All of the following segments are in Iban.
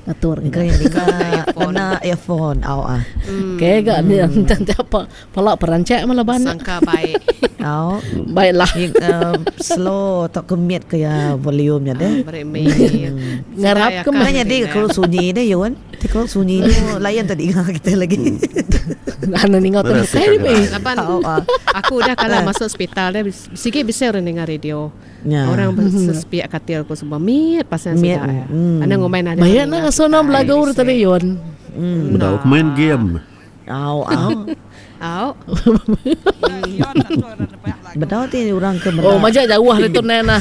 Atur Engka ga. iya ninga ngena earphone au ah. Okey ga ni enti apa pala perancak meh laban nya. Sangka baik. Au. Baiklah. Slow tauka mute ke iya volume nya deh. Beri mute. Ngarap ke meh. Nya nyadi ke kelu sunyi deh Yun. Ti kelu sunyi tu lain tadi ninga kita lagi. Anu ninga tu bukai deh. Laban aku udah kala masuk hospital deh sigi bisi orang ninga radio. Orang sepiak katil ku semua mit pasal sida iya. Anang ngumbai nadai. Bayak nak ngasuh nama belagu tu tadi Yun. Bedau ku main game. Au au. Au. Bedau ti orang ke meda. Oh majak jauh ari tu neh nah.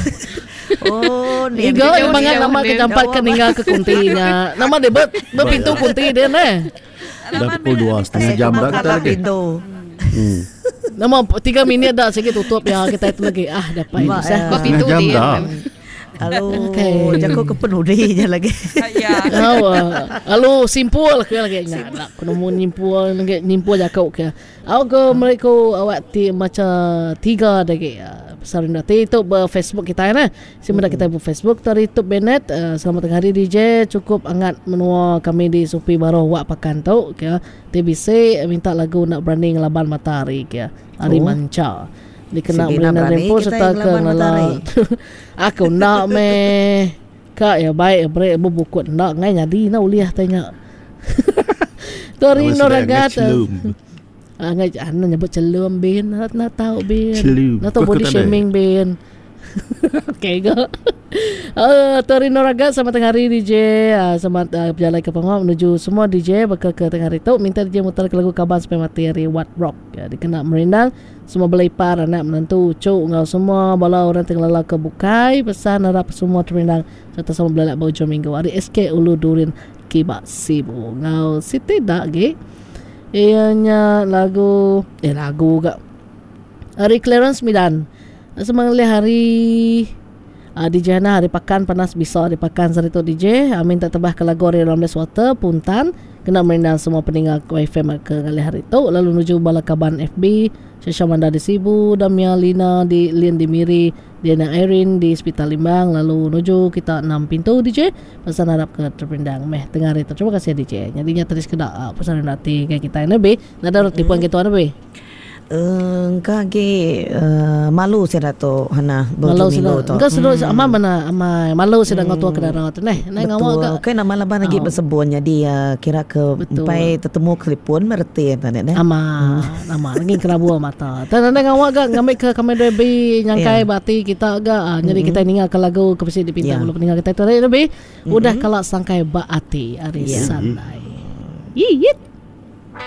Oh ni. Iga bangat nama ke jampat ke ninggal ke kunti nya. Nama dia be bepintu kunti dia neh. Dah pukul 2.30 jam dah kita lagi. Nama 3 minit dah sigi tutup ya kita itu lagi. Ah dapat Ba, susah. Ba pintu jam dia. dah. Lalu Okay. jaku ke penudi je lagi. Ya. Au, ah. Lalu simpul ke lagi nya. Nak ku nemu nyimpul lagi nyimpul jaku ke. Au ke meri ku awak ti macha tiga lagi. Ah, pasal rindu ati tu ba Facebook kitai nah. Si meda kitai ba Facebook tu ari Tub Bennett. Ah, selamat tengah hari DJ. Cukup angat menua kami di Supi Baruh Wak Pakan tu ke. Ti bisi minta lagu enda berani ngelaban matahari ke. Ari Oh. Mancha. Dikena Sigi enda Melina berani Rempu kitai serta ke ngelaban ngelala matahari. Aku enda meh. Ka iya baik beri bebukut enda ngai nyadi enda ulih tai nya. Tu ari Nama Nur sida ngai Agat. chelum. Ah ngai anu nyebut chelum bin enda tau bin. Chelum. Enda tau Ku body aku tadi. shaming bin. Okey ga. Uh, tu hari Nur Agat selamat tengah hari DJ. Uh, selamat uh, berjalai ke pengawa menuju semua DJ baka ke tengah hari tu minta DJ mutar ke lagu Kaban Sampai Mati hari What Rock. Ya, dikena merindang semua bala ipar anak menantu uchu enggau semua bala orang ti ngelala ke bukai pesan arap semua terindang sereta sama belelak ba ujung minggu ari SK Ulu Durin Kiba Sibu enggau siti da agi iya nya lagu eh lagu ga ari Clarence Midan Semang ngelih hari uh, DJ Hana hari pakan panas bisa hari pakan sehari tu DJ uh, minta tebah ke lagu ari Ramles Water Puntan kena merindang semua peninga ku FM ke ngalih hari tu lalu nuju bala kaban FB Shasha Manda di Sibu Damia Lina di Lin di Miri Diana Irene di Sepital Limbang lalu nuju kita enam pintu DJ pesan harap ke terperindang meh tengah hari tu terima kasih DJ nyadi nya tadi sekeda uh, pesan rindu ati ke kita lebih nadai orang telefon kita lebih Engka agi malu sida tu Hannah Malu beujung sida. minggu tu. Engka sida amai mena amai malu sida enggau tua ke dara tu neh. Nai ngawa Betul. ga. Kai nama laban agi besebun nyadi kira ke Betul. empai tetemu ke telefon meh reti enta nya neh. Amat amat lagi kelabu mata. Tang nadai ngawa ga ngambi ke kami dua bi nyangkai ba ati kita ga nyadi kitai ninga ke lagu ke bisi dipinta Ya. bala peninga kitai tu ari lebih udah kala sangkai ba ati ari Ya. Sandai. Yit.